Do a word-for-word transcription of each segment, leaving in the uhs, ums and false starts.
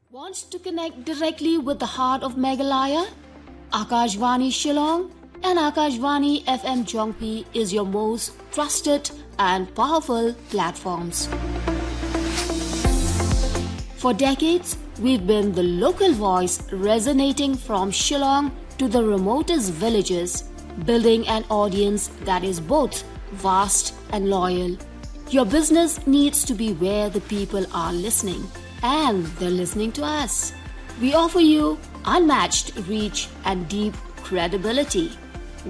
Want to connect directly with the heart of Meghalaya? Akashvani Shillong and Akashvani F M Jongpi is your most trusted and powerful platforms. For decades, we've been the local voice resonating from Shillong to the remotest villages, building an audience that is both vast and loyal. Your business needs to be where the people are listening, and they're listening to us. We offer you unmatched reach and deep credibility.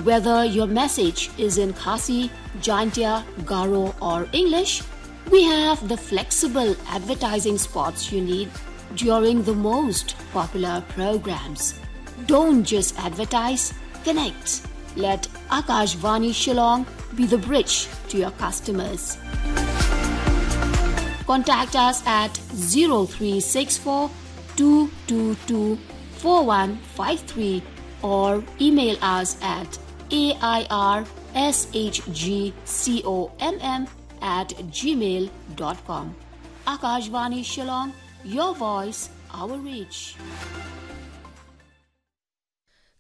Whether your message is in Khasi, Jaintia, Garo, or English, we have the flexible advertising spots you need during the most popular programs. Don't just advertise, connect. Let Akashvani Shillong be the bridge to your customers. Contact us at zero three six four two two two four one five three or email us at A I R S H G C O M M at gmail dot com. Akashvani Shillong, your voice, our reach.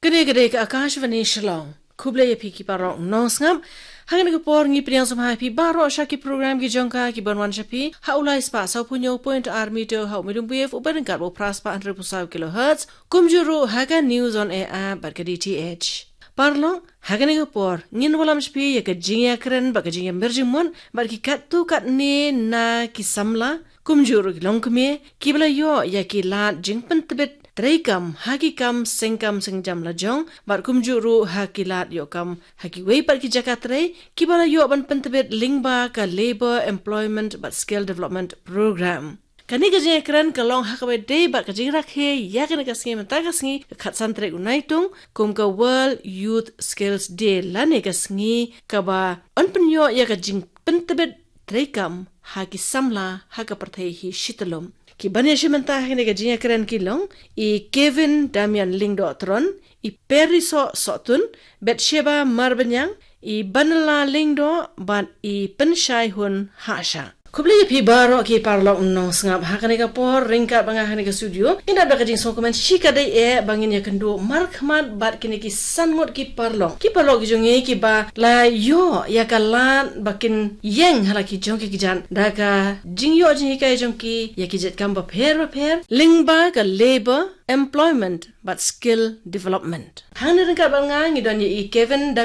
Kane ka dei ka Akashvani Shillong. Khublei ïa phi ki paralok nongsngap. Ha kane ka por ngi pdiang sngewbha ïa phi baroh sha ki program ki jong ka ki ban wan sha phi ha u lai spah sawphew hynñiew point ar meter ha u medium wave uba ryngkat u phra spah hynriewphew saw kilohertz. Kumjuh ruh ha ka News on Air app bad ka D T H. Paralok, ha kane ka por ngin wallam sha phi ïa ka jingïakren bad ka jingïamir jingmut bad ki katto katne na ki samla, kumjuh ruh ki longkmie kiba la ïoh ïa ki lad jingpyntbit treikam ha ki kam sengkam sengjam lajong bad kumjuh ruh ha ki lad ïoh kam ha kiwei pat ki jaka trei kiba la ïoh ban pyntbit lyngba ka Labour Employment bad Skill Development Program. Kane ka jingïakren ka long ha kaba ïadei bad ka jingrakhe ïa kane ka sngi mynta ka sngi ka khatsan tarik u Naitung kum ka World Youth Skills Day lane ka sngi kaba yn pynïoh ïa ka jingpyntbit treikam ha ki samla ha ka pyrthei hi shi tyllum. Ki ban ïashim bynta ha kane ka jingïakren ki long i Kevin Damian Lyngdoh Tron, i Perry Soh Sohtun, Bathsheba Marbaniang, i Banala Lyngdoh bad i Pynshai Hun Hashah. Khublei ïa phi baroh ki paralok nongsngap ha kane ka por ryngkat bad nga ha kane ka studio. Ngin ïa da ka jingsngewkmen shikatdei eh ba ngin ïakynduh markhmat bad kine ki san ngut ki paralok, ki paralok ki jong ngi kiba la ïoh ïa ka lad ba kin ïeng ha la ki jong ki kjat da ka jingïoh jinghikai jong ki ïa ki jait kam bapher bapher lyngba ka Labour, Employment bad Skill Development. Hangne ryngkat bad nga ngi don ïa i Kevin Damian